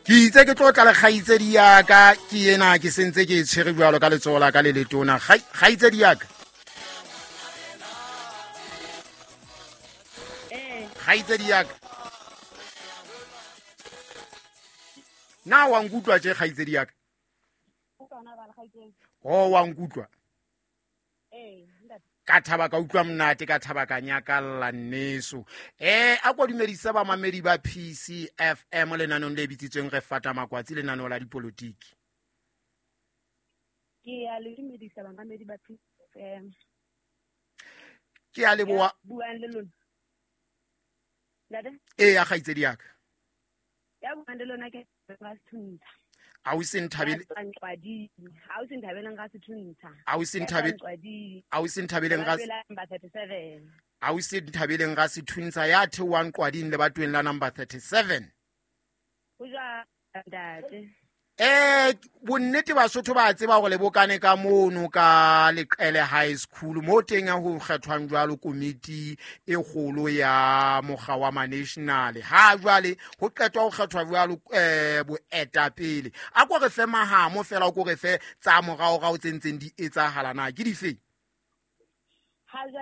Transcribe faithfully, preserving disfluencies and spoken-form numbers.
Ke itse ke tlo tla le kgaitsedi ya ka, ke ena ke sentse ke e tshwere jwalo ka letsoho la ka le letona. Kgaitsedi ya ka. Eh. Kgaitsedi ya ka. Na wa nkutlwa tje kgaitsedi ya ka? Oh, wa nkutlwa. Eh, ntate. Ka thaba ka utlwa monate, ka thaba ka nyakalla nneso. Eh, a ko dumedisa bamamedi ba P C F M lenanong le bitsitsweng Re Fata Makwatsi, lenaneo la dipolotiki. Ke a le dumedisa bamamedi ba P C F M. Ke a leboha. Buang le lona. Ntate? Eh, ya kgaitsedi ya ka. Ya buang le lona ke ga Sethuntsha. A o se nthabele? Ya tswang Qwading. Ha o se nthabeleng ga Sethuntsha. A o se nthabele? Ya tswang Qwading. A o se nthabeleng ga Lebatowe la number thirty-seven. A o se nthabeleng ga Sethuntsha ya theohang Qwading lebatoweng la number thirty-seven. Ho jwang, ntate? Eh, bonnete Basotho ba tseba hore le bokane ka mono ka Leqele High School, mo teng ya ho kgethwang jwalo komiti e kgolo ya mokga wa ma-national. Ha jwale ho qetwa ho kgethwa jwalo, eh, boetapele. A ko re fe mahamo fela, o ko re fe tsa moraorao tse ntseng di etsahala na, ke dife? Ha jwale